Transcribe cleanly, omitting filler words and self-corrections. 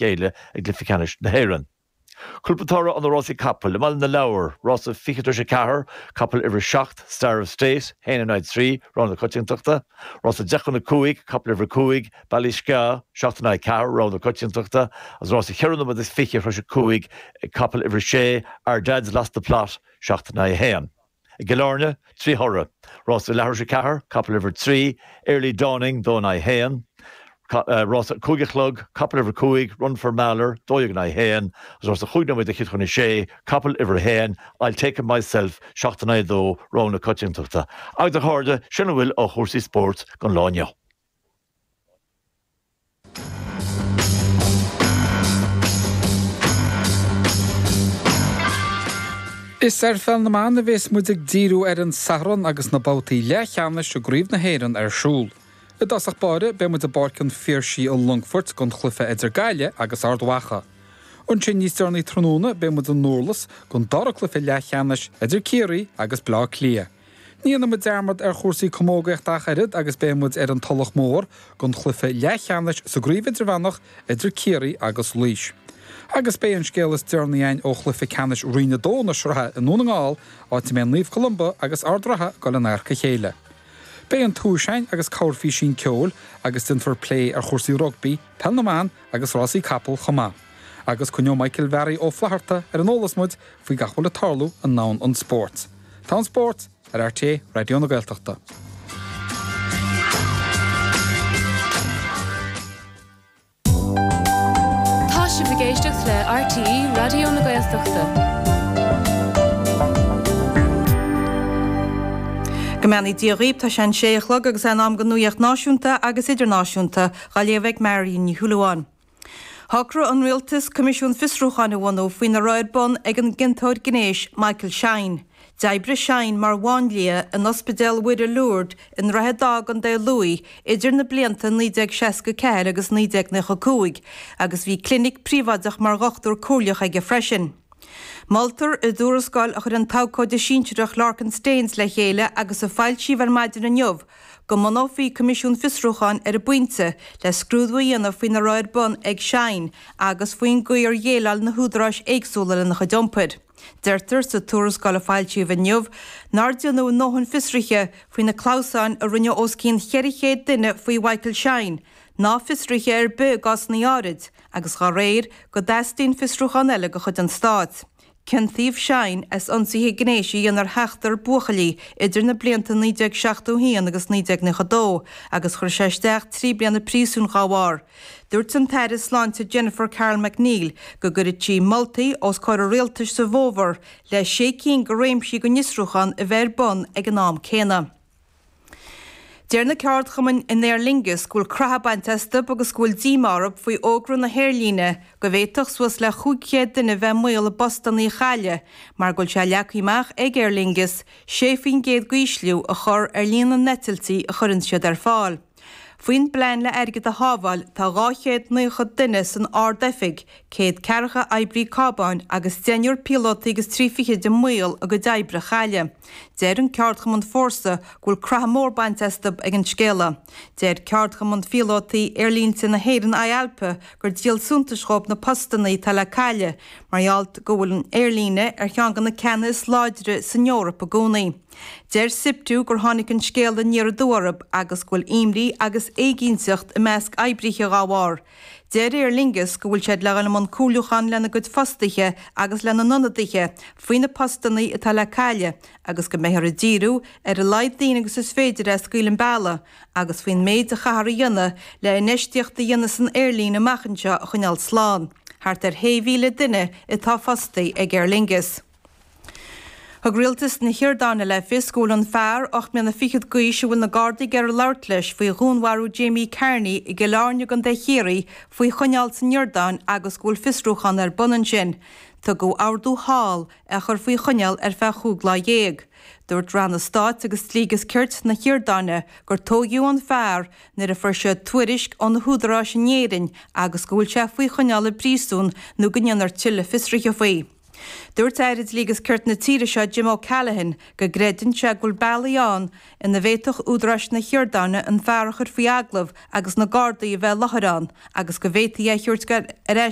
gcéile i gcluiche ceannais na hÉireann. Cúpla toradh ó na rásaí capaill i mBaile na Lobhar, rása 7:40, capall uimhir 7, Star of State, 1 in aghaidh 3, rogha na coitiantachta, rása 4:50, capall uimhir 5, Ballyskeagh, 7 in aghaidh 4, rogha na coitiantachta, agus rása 4 nóiméad is 20 tar éis 5, capall uimhir 6, Our Dad's Lost the Plot, 7 in aghaidh 1. I gCill Airne, 3 thoradh. Rása leathuair tar éis 4, capall uimhir 3, Early Dawning, 2 in aghaidh 1. Rása 5 a chlog, capall uimhir 5, Run For Maller, 12 in aghaidh 1. Agus rása 5 nóiméad fhichead chun 6, capall uimhir 1, I'll Take Him Myself, 7 in aghaidh 2, rogha na coitiantachta. Agus a chairde, sin a bhfuil ó chúrsaí spóirt don lá inniu. Is ar pheil na mban a bhéas muid ag díriú ar an Satharn agus na babhtaí leathcheannais i gCraobh na hÉireann ar siúl. I dtosach báire beidh muid i bPáirc an Phiarsaigh i Longfort don chluiche idir Gaillimh agus Ard Mhacha. Ansin níos deireanaí tráthnóna beidh muid i nDurlas don dara cluiche leathcheannais idir Ciarraí agus Bleá Cliath. Ní dhéanfaidh muid dearmad ar chúrsaí camógaíochta ach oiread agus beidh muid ar an Tulach Mhór don chluiche leathcheannais sa gcraobh idirmheánach idir Ciarraí agus Laois. Agus beidh an scéal is deireanaí againn ó chluiche ceannais Roinn 2 na sraithe i nDún na nGall, áit a mbeidh Naomh Columba agus Ard Ratha ag dul in adharca a chéile. Beidh an tomhais againn agus corrphísín ceoil agus déanfar plé ar chúrsaí rugbaí, peil na mban agus rásaí capall chomh maith. Agus coinneoidh Michael Bharry Ó Flatharta ar an eolas muid faoi gach a bhfuil ag tarlú i ndomhan an spóirt. Tá an spórt ar RTÉ Raidió na Gaeltachta. Tá sibh ag éisteacht le RTÉ Raidió na Gaeltachta. Go mbeannaí Dia dhaoibh, tá sé an sé a chlog agus é in am don nuaíocht náisiúnta agus idirnáisiúnta, dhá léamh ag Marion Ní Shúilleabháin. Shocraigh an Rialtas coimisiún fiosrúcháin a bhunú faoina raibh ar bun ag an gciontóir gnéis Michael Shine. D'oibrigh Shine mar mháinlia in Ospidéal Mhuire Lourdes i nDroichead Átha i gContae Lú idir na blianta 1964 agus 1995 agus bhí clinic príobháideach mar dhochtúir comhairleach aige freisin. Moltar i dtuarascáil a chuir an t-abhcóide sinsearach Lorcan Staines le chéile agus a foilsíodh ar maidin inniu go mbunófaí coimisiún fiosrúcháin ar an bpointe le scrúdú a dhéanamh faoina raibh ar bun ag Shine agus faoin gcaoi ar dhéileáil na húdaráis éagsúla lena chuid iompair. Deirtear sa tuarascáil a foilsíodh inniu nár déanadh a ndóthain fiosruithe faoi na clamhsáin a rinneadh os cionn 400 duine faoi Mhichael Shine, ná fiosruithe ar bith i gcásanna áirid, agus dá réir, go dteastaíonn fiosrúchán eile de chuid an Stáit. Ciontaíodh Shine as ionsaithe gnéis a dhéanamh ar sheachtar buachaillí idir na blianta 1971 agus 1992 agus chuir sé isteach 3 bliana príosúin dhá bharr. Dúirt an tAire Sláinte Jennifer Carroll MacNeill go gcuirfidh sí moltaí os comhair an rialtais sa bhfómhar le sé cinn de réimsí den fhiosrúchán a bheith ar bun ag an am céanna. Deir na ceardchumainn in Aer Lingus go bhfuil croitheadh bainte astu agus go bhfuil díomá orthu faoi fhógra na haerlíne go bhféadfadh suas le 500 duine bheith i mbaol a bpostanna a chailleadh mar go bhfuil sé leagtha amach ag Aer Lingus 6% d'ísliú a chur ar líon na n-eitiltí a chuireann siad ar fáil. Faoin bplean le airgead a shábháil tá 290 duine san Ard-Oifig, 140 oibrí cábáin agus deichniúr píolótaí agus trí fichid i mbaol a gcuid oibre a chailleadh. Deir an ceardchumann Fórsa go bhfuil croitheadh mór bainte astu ag an scéala. Deir ceardchumann phíolótaí aerlínte na hÉireann IALPA gur díol suntais dhóibh na postanna atá le cailleadh mar gheall go bhfuil an aerlíne ar cheann de na ceanna is láidre san Eoraip i gcónaí. Deir SIPTU gur tháinig an scéala aniar aduaidh orthu agus go bhfuil imní agus éiginnteacht i measc oibrithe dhá bharr. Deir Aer Lingus go bhfuil siad le dhul i mbun comhairliúchán lena gcuid fostaithe agus lena n-ionadaithe faoi na postanna atá le cailleadh agus go mbeifear ag díriú ar a laghad daoine agus is féidir a scaoileadh an bealach agus faoin méid a chaithfear a dhéanamh le infheistíocht a dhéanamh san aerlíne amach anseo a choinneáil slán. Thart ar 6,000 duine atá fostaithe ag Aer Lingus. Thug rialtas na hIordáine le fios go bhfuil an fear, 8 mbliana fichead d'aois, a bhfuil na Gardaí ag iarraidh labhairt leis faoi dhúnmharú Jamie Carney i gCill Airne i gContae Chiarraí, faoi choinneáil san Iordáin agus go bhfuil fiosrúchán ar bun ansin. Tugadh ordú thall é a chur faoi choinneáil ar feadh chúig lá dhéag. Dúirt Ranna Stáit agus Dlí agus Cirt na hIordáine gur tóigeadh an fear nuair a fuair siad tuairisc ó na húdaráis in Éirinn agus go bhfuil sé faoi choinneáil i bpríosún nó go ndéanfar tuilleadh fiosruithe faoi. Dúirt Aire Dlí agus Cirt na tíre seo Jim O'Callaghan go gcreideann sé go bhfuil bealaí ann ina bhféadfadh údaráis na hIordáine an fear a chur faoi agallamh agus na Gardaí a bheith i láthair ann agus go bhféadfaí é a thabhairt ar ais.